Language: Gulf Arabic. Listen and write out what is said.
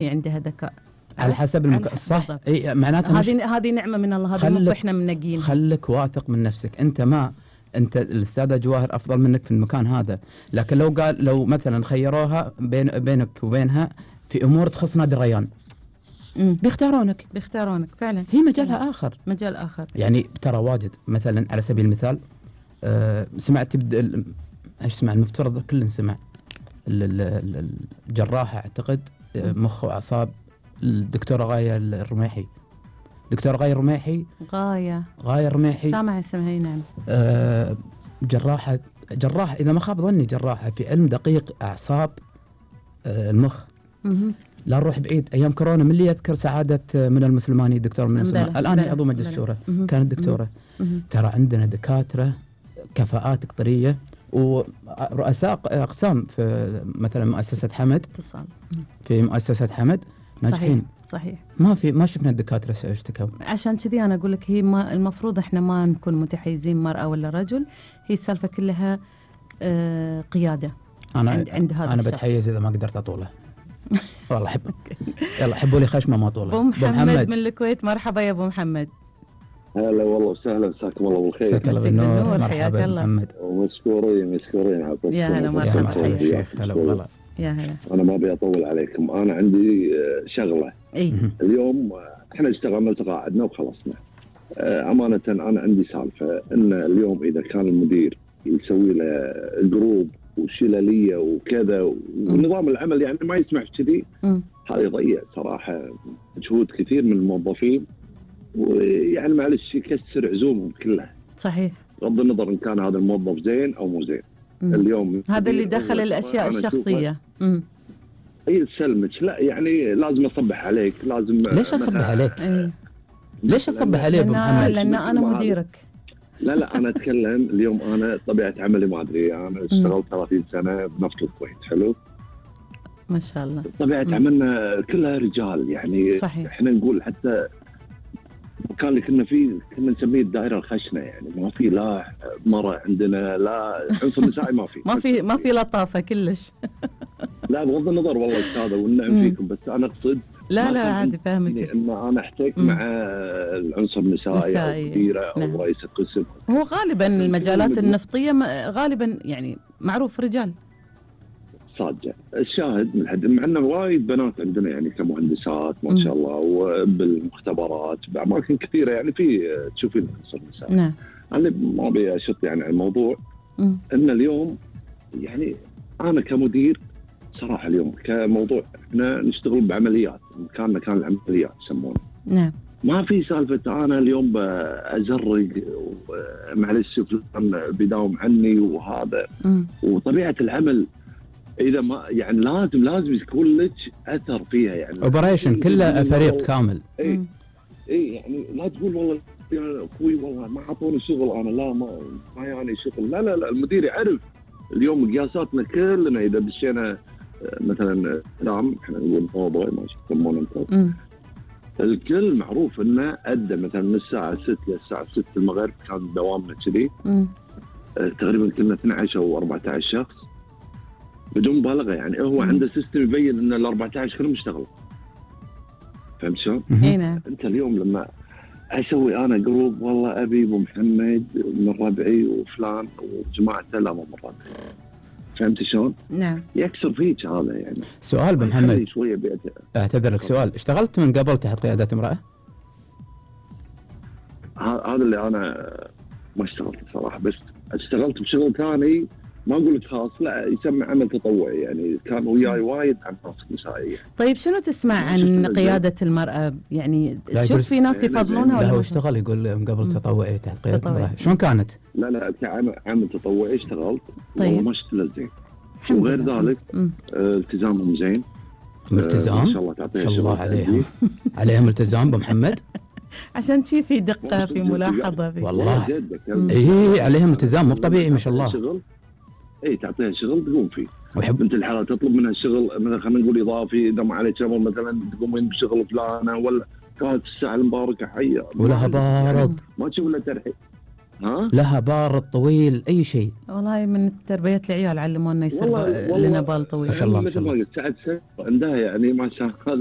عندها ذكاء على حسب صح. اي معناته هذه نعمه من الله، هذه مو احنا منقين. خلك واثق من نفسك. انت الاستاذه جواهر افضل منك في المكان هذا، لكن لو مثلا خيروها بينك وبينها في امور تخص نادي الريان بيختارونك فعلا. هي مجالها مجال اخر يعني. ترى واجد مثلا على سبيل المثال سمعت ايش سمع المفترض كلنا سمع الجراحه اعتقد مخ واعصاب الدكتوره غايه الرميحي. دكتوره غايه الرميحي غايه الرميحي سامع اسمها. نعم. جراحه اذا ما خاب ظني جراحه في علم دقيق اعصاب المخ. لا نروح بعيد، ايام كورونا من اللي يذكر سعاده من المسلماني دكتور من المسلماني الان هي عضو مجلس الشورى كانت دكتوره. ترى عندنا دكاتره كفاءات قطريه ورؤساء اقسام في مثلا مؤسسه حمد اتصال في مؤسسه حمد ناجحين. صحيح. ما شفنا الدكاتره اشتكوا. عشان كذي انا اقول لك هي المفروض احنا ما نكون متحيزين مرأة ولا رجل، هي السالفه كلها قياده. عند هذا انا بتحيز اذا ما قدرت اطوله. والله احب. يلا حبوا لي خشمه ما طوله. ابو محمد من الكويت، مرحبا يا ابو محمد. هلا والله وسهلا، مساكم الله بالخير. مساك الله بالنور. مرحبا محمد. ومشكورين عطيكم. يا هلا مرحبا يا شيخ. هلا والله. يا هلا. انا ما ابي اطول عليكم، انا عندي شغله. اليوم احنا اشتغلنا وتقاعدنا وخلصنا. امانه انا عندي سالفه ان اليوم اذا كان المدير يسوي له جروب وشلاليه وكذا ونظام العمل يعني ما يسمح كذي، هذا يضيع صراحه مجهود كثير من الموظفين، ويعني معلش يكسر عزومهم كلها. صحيح. بغض النظر ان كان هذا الموظف زين او مو زين. اليوم هذا اللي دخل الاشياء الشخصيه. اي تسلمك، لا يعني لازم اصبح عليك، لازم. ليش اصبح عليك؟ ليش اصبح عليك ابو محمد؟ لان انا مديرك. لا انا اتكلم اليوم، انا طبيعه عملي ما ادري، انا اشتغلت 30 سنه بنفط الكويت. حلو ما شاء الله. طبيعه عملنا كلها رجال يعني. صحيح. احنا نقول حتى المكان اللي كنا فيه كنا نسميه الدائره الخشنه، يعني ما في لا مره عندنا، لا عنصر نسائي ما في ما في لطافه كلش. لا بغض النظر والله استاذه والنعم فيكم، بس انا اقصد لا عادي فاهمك. ان انا احتك مع العنصر النسائي او مديره او رئيس القسم. هو غالبا المجالات النفطيه غالبا يعني معروف رجال صادقه. الشاهد من حد مع انه وايد بنات عندنا يعني كمهندسات ما شاء الله، وبالمختبرات باماكن كثيره يعني في تشوفين العنصر النسائي. نعم. انا ما ابي اشط يعني على الموضوع. ان اليوم يعني انا كمدير صراحه اليوم كموضوع احنا نشتغل بعمليات، مكاننا كان العمليات يسمونه. نعم. ما في سالفه انا اليوم بازرق معلش فلان بيداوم عني وهذا. وطبيعه العمل اذا ما يعني لازم يكون لك اثر فيها يعني. اوبريشن كله فريق كامل. اي يعني لا تقول والله يا اخوي والله ما اعطوني شغل، انا لا ما يعني شغل. لا المدير يعرف. اليوم مقياساتنا كلنا اذا دشينا مثلا احنا نقول موضوع ما يسمونه انت. الكل معروف انه ادى مثلا من الساعه 6 للساعه 6 المغرب كان دوامنا كذي. تقريبا كنا 12 او 14 شخص بدون مبالغه يعني. هو عنده سيستم يبين ان ال 14 كلهم اشتغلوا. فهمت شلون؟ اي نعم. انت اليوم لما اسوي انا جروب والله ابي ابو محمد من ربعي وفلان وجماعته، لا مو من ربعي. فهمت شلون؟ نعم. يكسر فيك هذا يعني. سؤال ابو محمد، اعتذر لك سؤال، اشتغلت من قبل تحت قياده امراه؟ هذا اللي انا ما اشتغلت صراحه، بس اشتغلت بشغل ثاني ما اقول لك خاص، لا يسمى عمل تطوعي يعني. كان وياي وايد عناصر نسائيه. طيب شنو تسمع عن قياده المراه؟ يعني تشوف في ناس يفضلونها ولا؟ هو اشتغل يقول من قبل تطوعي تحت قياده المراه، شلون كانت؟ لا كعمل تطوعي اشتغلت. طيب. ما اشتغلت زين. وغير ذلك التزامهم زين. التزام؟ ما شاء الله تعطيها ما شاء الله عليهم التزام ابو محمد. عشان شي في دقه في ملاحظه في والله. اي عليهم التزام مو طبيعي ما شاء الله. اي تعطيها شغل تقوم فيه. ويحب انت الحاله تطلب منها الشغل مثلا خلينا نقول اضافي، اذا ما عليك شغل مثلا تقومين بشغل فلانه ولا كانت الساعه المباركه حيه ولها بارد ما تشوف الا ترحيب. لها بال طويل اي شيء. والله من تربيه العيال علمونا يصير لنا بال طويل. ما شاء الله. مثل ما قلت سعد عندها يعني ما شاء الله غير